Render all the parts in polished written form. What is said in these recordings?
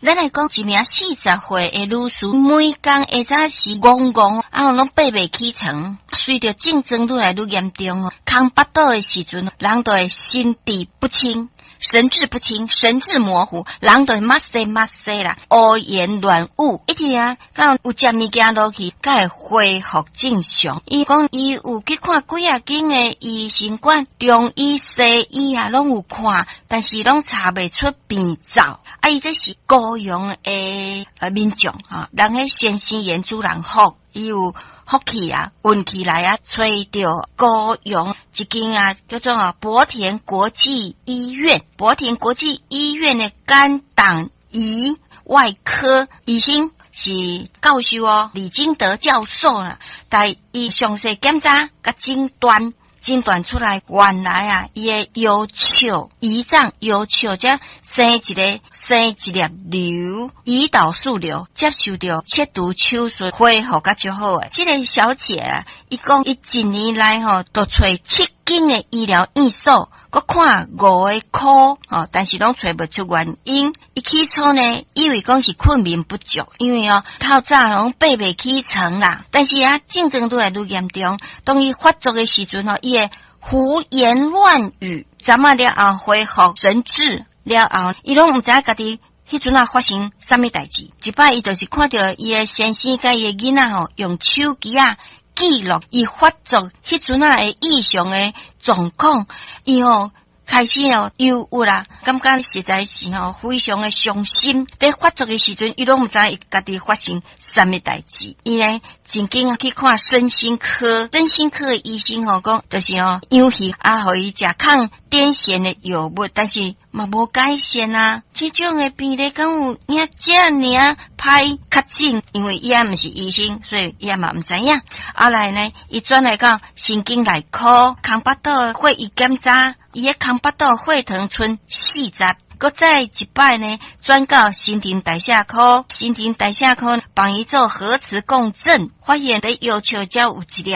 咱來講，一名40歲的女士，每工下早時戇戇，啊，攏爬袂起床。隨著症狀愈來愈嚴重哦，空腹肚的時陣，人就會神志不清。神志不清，神志模糊，人就會目西目西啦，烏言亂語，一直啊，敢有食物件落去，才會恢復正常。伊講伊有去看幾仔間的醫生館，中醫、西醫啊，攏有看，但是攏查袂出病灶。啊，伊這是高雄的民眾啊，人彼先生嚴主人福，伊有福氣啊，運氣來啊，揣著高雄一間啊，叫做啊博田國際醫院，博田國際醫院的肝膽胰外科醫生是教授哦，李金德教授啦，帶伊詳細檢查佮診斷。診斷出來，原來啊，伊的腰笑，胰臟腰笑，遮生一粒瘤，胰島素瘤，接受著切除手術，恢復較足好的。這个小姐啊，伊講伊一年來吼，都揣七間的醫療院所，閣看五个科，吼，但是攏揣袂出原因。伊起初呢，以為講是睏眠不足，因為哦，透早攏爬袂起床啦。但是啊，症狀愈來愈嚴重，當伊發作的時陣吼，伊會胡言亂語。昨仔了後恢復神智了後，伊攏毋知影家己彼陣仔發生啥物代誌。一擺伊就是看著伊的先生佮伊的囡仔吼，用手機仔記錄伊發作彼陣仔的異常的狀況，伊吼開始哦憂鬱啦，感覺實在是吼非常的傷心。佇發作的時陣，伊攏毋知伊家己發生啥物代誌。伊呢真緊去看身心科，身心科的醫生吼講，就是吼養魚啊，予伊食抗癲癇的藥物，但是嘛無改善啊。這種的病例敢有影遮爾仔歹確診？因為伊也毋是醫生，所以伊也嘛毋知影。後來呢，伊轉來到神經內科，空腹肚血液檢查，伊的空腹肚血糖賰40，閣再一擺呢，轉到新陳代謝科，新陳代謝科幫伊做核磁共振，發現佇腰笑遮有一粒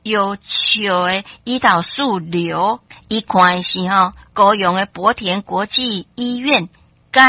腰笑的胰島素瘤。伊看的是吼高雄的博田國際醫院。